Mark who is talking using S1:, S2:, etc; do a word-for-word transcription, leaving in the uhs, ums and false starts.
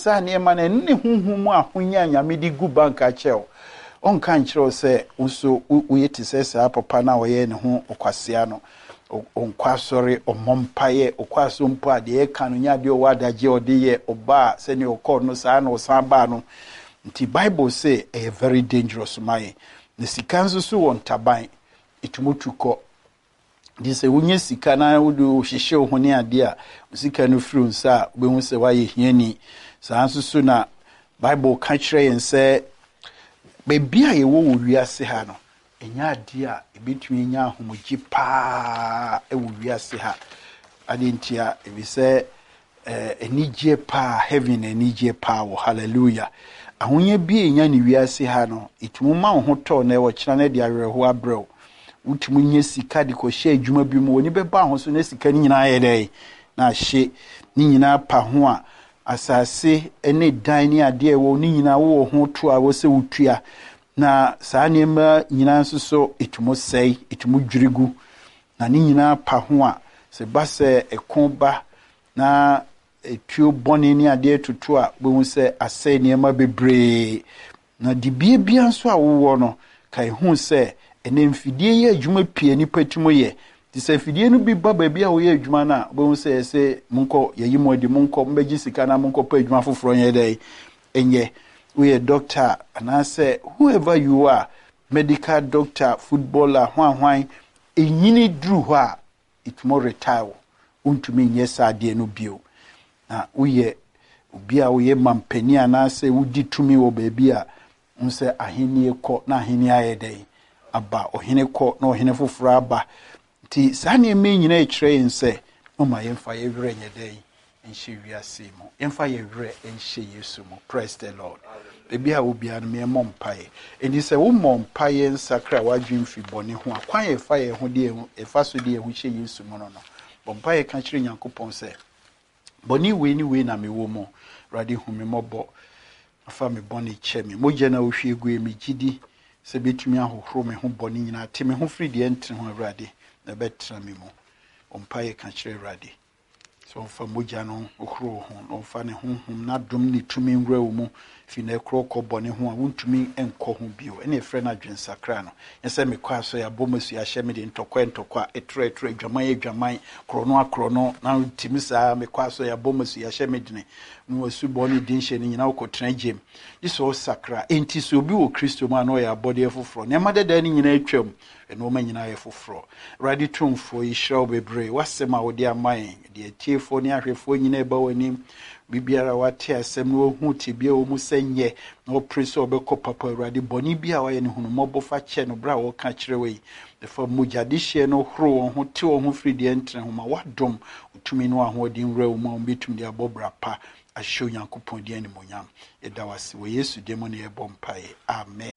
S1: Saa nneɛma no, ɛno ne honhom mu ahonya a Nyame de gu bank akyɛ wo. Ɔnka nkyerɛ wo sɛ wo nso woyɛ te sɛ saa papa no a ɔyɛ ne ho ɔkwasea no. Ɔnkɔ asɔre, ɔmmɔ mpaeɛ, ɔkɔ asɔre mpo a, deɛ ɛka no nyɛ adeɛ ɔwɔ adagye a ɔde yɛ. Ɔbaa sɛdeɛ ɔkɔɔ no, saa na ɔsan baa no. Nti Bible sɛ ɛyɛ very dangerous ma yɛn. Na sika nso so wɔ ntaban, ɛtumi tu kɔ. Nti sɛ wonya sika na wode hyehyɛ wo ho ne adeɛ a, wo sika no firi wo nsa a, wobɛhu sɛ woayɛ hiani. Saa nso so na Bible ka kyerɛ yɛn sɛ baabi a yɛwɔ wɔ wiase ha no, ɛnyɛ adeɛ a ɛbɛtumi anya ahomegye paa wɔ wiase ha. Adeɛ nti a, ɛfiri sɛ anigyeɛ paa, heaven anigyeɛ paa wɔ. Hallelujah. Ahonya bi a ɛnya ne wiase ha no, ɛtumi ma wo ho tɔ na ɛwɔ kyena no de awerɛhoɔ abrɛ wo. Wotumi nya sika de kɔhyɛ adwuma bi mu, w'ani bɛba ho so na sika no nyinaa yɛ dɛn na ahye ne nyinaa pa ho a, asase ne dan ne adeɛ ɛwɔ ne nyinaa wowɔ ho to a wɔ sɛ wotua. Na saa nneɛma nyinaa nso so ɛtumi sɛe, ɛtumi dwiri gu. Na ne nyinaa pa ho a, sɛ ba sɛ ɛko ba na etuo bɔne ne adeɛ toto a, wobɛhu sɛ asɛe nneɛma bebree. Na dibea bia nso a wowɔ no, ka ehu sɛ ɛnɛ mfidie yɛ adwuma pii a nipa tumi yɛ. Nti sɛ afidie no bi ba baabi a woyɛ adwuma no a, wobɛhu sɛ yɛsɛ monkɔ, yɛyi mo adi, monkɔ mbɛgye sika na monkɔpɛ adwuma foforɔ nyɛ dɛ ɛnyɛ. Woyɛ doctor anaasɛ whoever you are, medical doctor, footballer, hwanhwan, ɛnyini duru hɔ a, ɛtumi retire wo, wontumi nyɛ saa adeɛ no bio. Na woyɛ obi a woyɛ mampanin anaasɛ wodi tumi wɔ baabi a, wo sɛ ahennie kɔ na ahennie ayɛ dɛn aba, ɔhene kɔ na ɔhene foforɔ aba. Nti saa nneɛma yi nyinaa kyerɛ yɛn sɛ ɔma yɛmfa yɛ werɛ nyɛ dɛn nhyɛ wiase mu, yɛmfa yɛ werɛ nhyɛ Yesu mu. Praise the Lord. Baabi a wobiara no, yɛmmɔ mpaeɛ. Nti sɛ wommɔ mpaeɛ nsakra w'adwene firi bɔne ho a, kwan yɛfa yɛn ho de yɛfa so de yɛn ho hyɛ Yesu mu no no bɔ mpaeɛ ka kyerɛ Nyankopɔn sɛ bɔne wei ne wei na mewɔ mu. Awurade, hu me mmɔbɔ, fa me bɔne kyɛ me. Mogya no a wohwie gu yi, megye di sɛ bɛtumi ahohoro me ho bɔne nyinaa, te me ho firi deɛ ɛntene ho, Awurade, na ɛbɛtena me mu. Ɔmpaeɛ ka kyerɛ Awurade sɛ ɔmfa mogya no hohoro wo ho na ɔmfa ne honhom n'adom ne tumi nwura wo mu. Fi na ɛkorɔ kɔ bɔne ho a, wontumi nkɔ ho bio. Ɛne ɛfrɛ no adwensakra no. Nyɛ sɛ mekɔ asɔ yɛabɔ mu asu ahyɛ me de ntɔkwa ntɔkwa, ɛtorɔ ɛtorɔ, adwaman adwaman, korɔno akorɔno, na wotumi saa mekɔ asɔ yɛabɔ mu asu ahyɛ me dene na wasu bɔ ne din hyɛ no nyinaa wokɔtena gyem gye sɛ ɔsakra. Enti sɛ obi wɔ Kristo mu a, na ɔyɛ abɔdeɛ foforɔ, nneɛma dada no nyinaa atwam, nneɛma nyinaa yɛ foforɔ. Awurade Tumfoɔ, yɛhyira wo bebree w'asɛm a wode ama yɛn. Deɛ atiefoɔ ne ahwɛfoɔ nyinaa ɛba w'anim, biribiara wate asɛm no, wahu tebea wɔ mu sɛ nyɛ na ɔpere sɛ ɔbɛkɔ papa. Awurade, bɔne bi a wayɛ no, hunu mmɔbɔ fa kyɛ no. Berɛ a wɔka kyerɛ wɔ yi, ɛfa mogya dehyeɛ no horo wɔn ho, te wɔn ho firi deɛ ntene ho. Ma wadom tumi no ahoɔden nwura wo mu a wɔbɛtumi de abɔ bra pa ahyɛ Onyankopɔn din animonyam. Yɛda wo ase wɔ Yesu din mu na yɛbɔ mpaeɛ, amen.